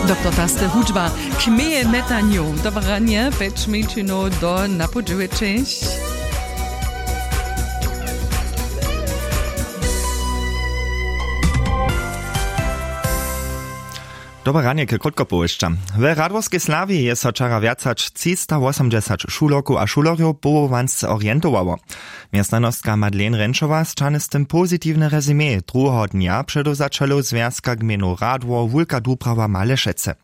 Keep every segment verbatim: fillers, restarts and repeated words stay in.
Doktor Taste hudźba k meje metanju. Dobre ranje, pjeć mjeńšinow do napoł dźewjećich. Dobre ranje k krótkopowěsćam. We Radworskej Slawje je so wčera wjac hač třistawosomdźesać šulerkow a šulerjow powołansce orientowało. Městnanostka Madeleine Renčowa sćahny z tym pozitiwne rezime druheho dnja předewzaćelow zwjazka gmejnow Radwor Wulka Duprawa Malešece.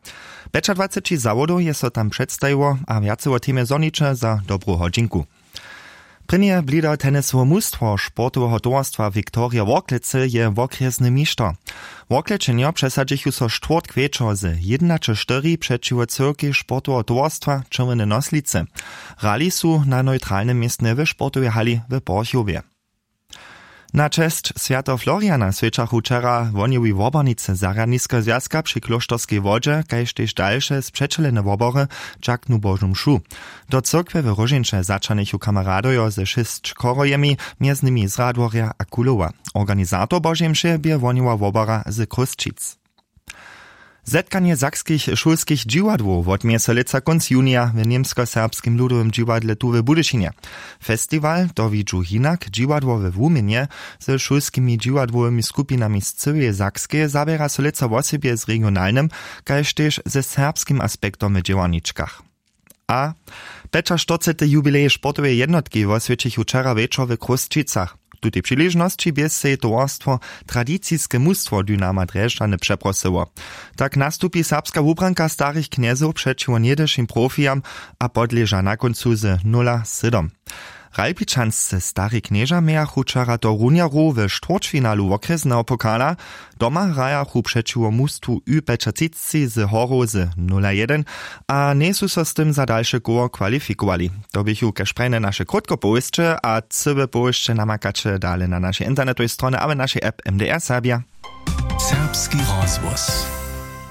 Pjećadwaceći zawodow je so tam předstajiło a wjace wo temje zhoniće za dobru hodźinku. Prěnje blido tennisowe mustwo sportoweho towarstwa Viktorija Worklecy je wokrjesny mišter. Worklećenjo přesadźichu so štwórtk wječor z jědnaće štyri přećiwo cyłkej sportoweho towarstwa Čerwjene Noslicy. Hrali su na neutralnym městnje w sportowej hali w Porchowje. Na česć swjateho Floriana swjećachu wčera wohnjowi wobornicy zarjadniskeho zwjazka při klóšterskej wodźe kaž tež dalše spřećelene wobory dźaknu božu mšu. Do cyrkwje w róžeńće zaćahnychu kameradojo ze šěsć chorhojemi, mjez nimi z Radworja a Kulowa. Organizator božej mše bě wohnjowa wobora z Chrósćic. Zetkanje sakskich šulskich dźiwadłow wotměje so lětsa kónc junija w němskoserbskim ludowym dźiwadle tu w Budyšinje. Festiwal to widźu hinak dźiwadło we wuměnje ze šulskimi dźiwadłowymi skupinami z cyłeje Sakskeje zaběra so lětsa wosebje z regionalnym kaž tež ze serbskim aspektom w dźěłarničkach. A pjećaštyrcety jubilej sportoweje jednotki woswjećichu wčera wječor w Chrósćicach. Tutej přiležnosći bě sej towarstwo tradiciske mustwo Dynama Drježdźany přeprosyło. Tak nastupi serbska wubranka starich knjezow přećiwo něhdyšim profijam a podleža na kóncu z nula sydom. Ralpičansce stari knježa mějachu wčera do runjaru w štwórćfinalu wokrjesneho pokala. Doma hrajachu přećiwo mustwu ü pjećatřicci z horow z nula jedyn a njejsu so z tym za dalše koło kwalifikowali. To běchu kaž prajne naše krótkopowěsće a cyłe powěsće namakaće dale na našej internetowej stronje abo našej app mdr serbja. Serbski rozhłos.